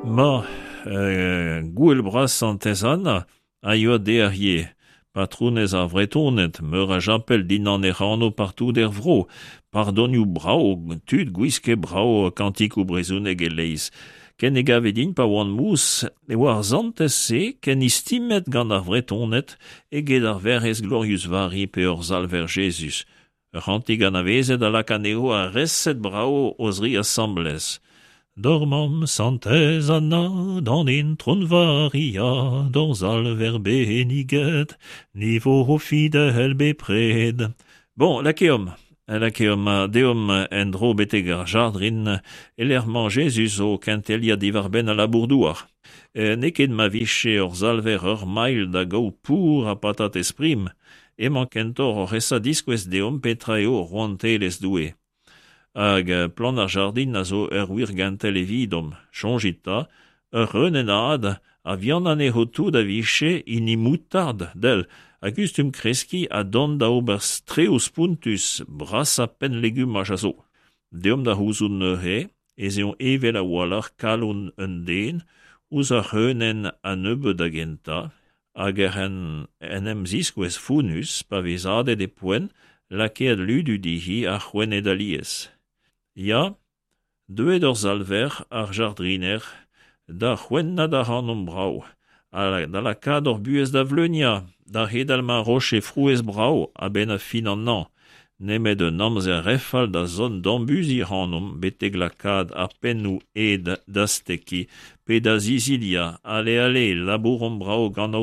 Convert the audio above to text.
Ma, gouel bras Santez Anna a yoa dec'h ivez, patronez ar Vretoned, meur a japel dindan hec'h anv partout er vro, pardonioù brav, tud gwisket brav, kantikoù brezhonek e-leizh. Ken e gave din pa oan mous e oa ar santez-se ken istimet gant ar Vretoned eget ar Werc'hez Glorius Vari pe hor Salver Jezuz. Ur c'hantik anavezet a lak anezho a-reset brav o-zri asambles. D'hor mamm Santez Anna, d'an Intron Varia, d'hor Salver benniget, ni vo fidel bepred. Bon, lakeomp, lakeomp ha deomp en-dro betek ar jardrin e-lec'h 'mañ Jezuz o kenteliañ diwar-benn al labour-douar. N'eo ket ma vije hor Salver ur mailh da gaout pour ha patatez prim, emañ kentoc'h oc'h esa diskouez deomp petra eo rouantelezh Doue. Hag plant ar jardin a zo ur wir gentel evidomp. Soñjit 'ta, ur c'hreunenn-had a vihan anezho tout a vije hini moutard, del, a gustum kreskiñ ha dont da ober strew spontus, brasañ penn-legumaj a zo. Deomp da c'houzout neuze ez eo heñvel a-walc'h kalon un den ouzh ur c'hreunenn a-nebeut da gentañ, hag ec'h en em ziskouez fonnus pa vez hadet e poent lakaet ludu dezhi ha c'hwennet alies. Ya, deuet hor Salver, ar jardriner, da c'hwennat ac'hanomp brav, ha da lakaat hor buhez da vleuniañ, da c'hedal ma roje frouezh brav a-benn fin an hañv, nemet un amzer re fall da zont d'ambuziñ ac'hanomp betek lakaat ar pennoù ed da stekiñ pe da ziziliañ. Ale, ale, labouromp brav gant.